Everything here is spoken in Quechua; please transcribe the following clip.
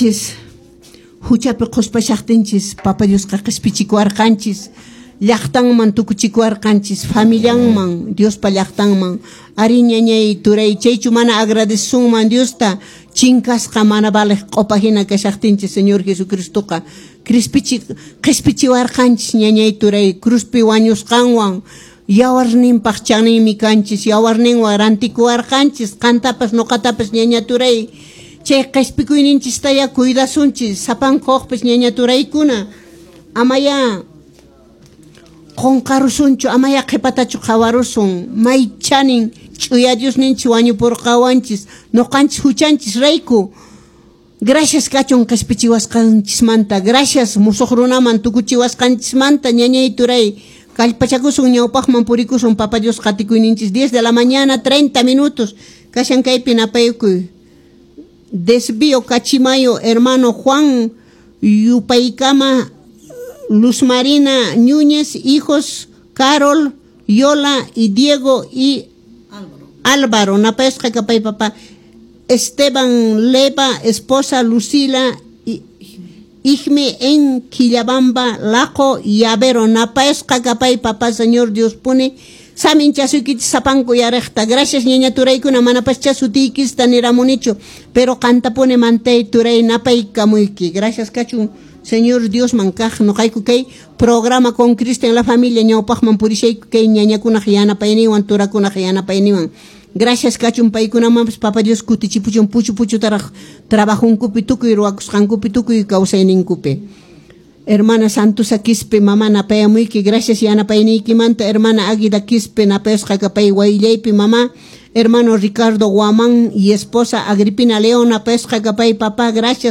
Noqanchis huchapi qhuspashaqtinchis Papa Diosqa qhispichikuwarqanchis, llaqtanman tukuchikuwarqanchis, familianman, Diospa llaqtanman. Ari, ñañay, turay, chaychu mana agradecesunman Diosta? Chinkasqa, mana valeq q'opa hina kashaqtinchis Señor Jesucristoqa crispichi qhispichiwarqanchis, ñañay, turay, cruzpi wañusqanwan. Yawarninpaq chaninmi kanchis, yawarninwan rantikuwarqanchis qantapas noqatapas, ñaña, turay. Chay qhispikuyninchistaya cuidasunchis sapanka hukpis, ñaña, turaykuna. Amaya qunqarusunchu, amaya qhipatachu qhawarusun. May chanin ch'uya Diosninchis wañupurqawanchis noqanchis huchanchis rayku. Gracias kachun qhispichiwasqanchismanta, gracias musuq runaman tukuchiwasqanchismanta, ñañay, turay. Kallpachakusun, ñawpaqman purikusun, Papa Dios qatikuyninchis. 10 de la mañana 30 minutos kashan. Kaypi napaykuy. Desvío Cachimayo, hermano Juan Yupaykama, Luz Marina Núñez, hijos Carol, Yola y Diego y Álvaro. Napayasqa kapay, papá. Esteban Leva, esposa Lucila y Igme en Quillabamba, Laco y Avero. Napayasqa kapay, papá. Señor Dios pone saminchasuykichis sapanku yaraqta. Gracias, ñaña, turaykuna. Manapascha sutiykista niramunichu, pero qantapuni mantay, turay, napaykamuyki. Gracias kachun Señor Diosman kaq. Noqayku kay programa Con Cristo en la Familia ñawpaqman purishayku kay ñañakunaq yanapayninwan, turakunaq yanapayninwan. Gracias kachun paykunamanpas. Papa Dios kutichipuchun puchu puchutaraq trabajunkupi, tukuy ruwakusqankupi, tukuy kawsayninkupi. Hermana Santusa Quispe, mamá, napayamuyki. Gracias yanapayniykimanta. Hermana Águida Quispe, napayasqa kapay wayllaypi, mamá. Hermano Ricardo Guamán y esposa Agripina León, napayasqa kapay, papá, gracias.